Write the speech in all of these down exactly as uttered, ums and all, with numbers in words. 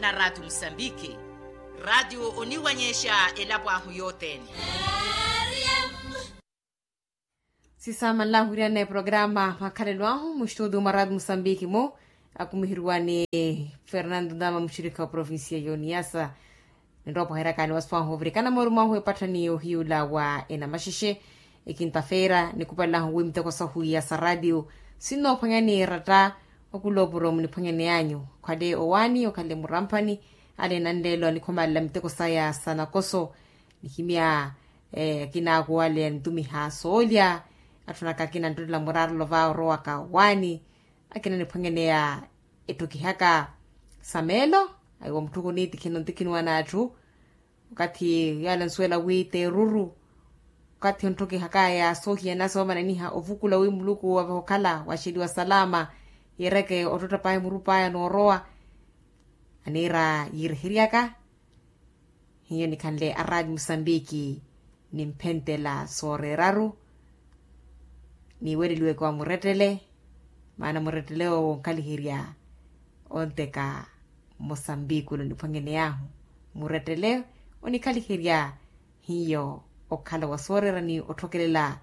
Na raatiyo musambiki. Raatiyo oniwanyexa elapo ahu yothene. Sisamanlahu iriana eprograma makhalelo ahu mustudio mwa raatiyo musambiki mu, akumihiriwa ni fernando ndama muxirikha wa provincia ya oniyasa. Ninrowa opwaheryaka ni wasiwahu ovirikana moori mwahu epatthani ohiyula wa enamaxexe. Ekinta-feera nikupalelahu wi miteko sahu iya sa raatiyo sinnoophwanya ni eratta. Okulopuro muniphwanyaneyanyu okhale owaani okhale muramphani. Ale nanleelo anikhomalela miteko saya sa nakoso. Nihimya akina akuwale anitumiha soolya. Atthu anaka akina anttotela muraarelo va orowaka owaani. Akina aniphwanyaneya etthukihaka sa meelo. Aiwa mutthu kuniitikhina ontikhiniwa n'atthu. Okathi yale ansuwela wi t'eruru okathi ontthukihakaya soohiyanasa omananiha ovukula wi muluku avehe okhala waxeliwa salama. Yeereke ottotta paya muru paya noorowa. Aniira yiireheryaka hiyo nikhanle araati musambiki. Nimphenttela sooreeraru. Niiweleliweke wa murettele. Maana murettele owo onkhaliherya onteka musambiki ole oniphwanyaneyahu. Murettele onikhaliherya hiyo okhala wa sooreera ni otthokelela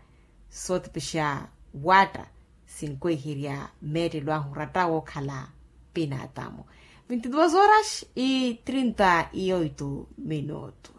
sootipixa waatta. Sinkweherya meettelo ahu oratta wookhala pinaatamu. Vinti duas horas e trinta e oito minuto.